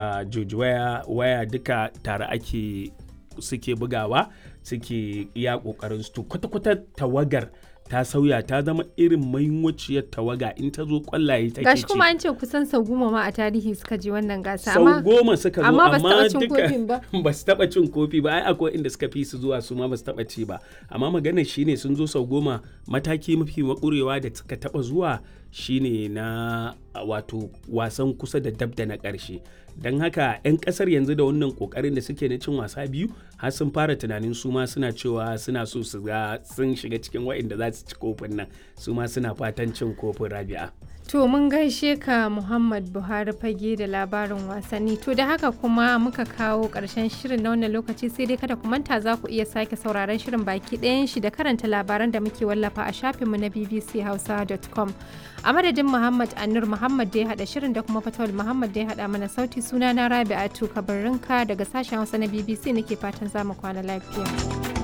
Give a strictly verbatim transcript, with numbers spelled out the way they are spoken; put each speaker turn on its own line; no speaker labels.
George Weah waya duka tare ake suke bugawa suke iya kokarin su. To kwata-kwata tawagar ta sauya ta zama irin mainwaciyar tawaga in ta zo kwallaye take
Gashi
ci.
kuma an ce kusan sau goma ma a tarihi suka je wannan gasa.
Sau
amma
goma suka zo
amma ba su
amma
taɓa cin
duka
kofin ba.
ba su taɓa cin kofi ba. Ai akwai inda suka fi su zuwa su ma ba su taɓa ci ba. Amma maganar shine sun zo sau goma, mataki mafi makurewa da suka taɓa zuwa shine na wato wasan kusa da dab da na ƙarshe. Don haka 'yan ƙasar yanzu da wannan ƙoƙarin da suke na cin wasa biyu har sun fara tunanin su ma suna cewa suna so su ga sun shiga cikin waɗanda za su ci kofin nan, su ma suna fatan cin kofin, Rabi'a.
To mun gaishe ka Muhammad Buhari Fage da labarin wasanni. To da haka kuma muka kawo ƙarshen shirin na wannan lokaci, sai dai kada ku manta za ku iya sake sauraron shirin baki ɗayan shi da karanta labaran da muke wallafa a shafinmu na b b c hausa dot com. A madadin Muhammad Anur Muhammad da ya haɗa shirin da kuma Fatawul Muhammad da ya haɗa mana sauti, suna na Rabi'atu Kabarrinka daga sashen Hausa na B B C nake fatan za mu kwana lafiya.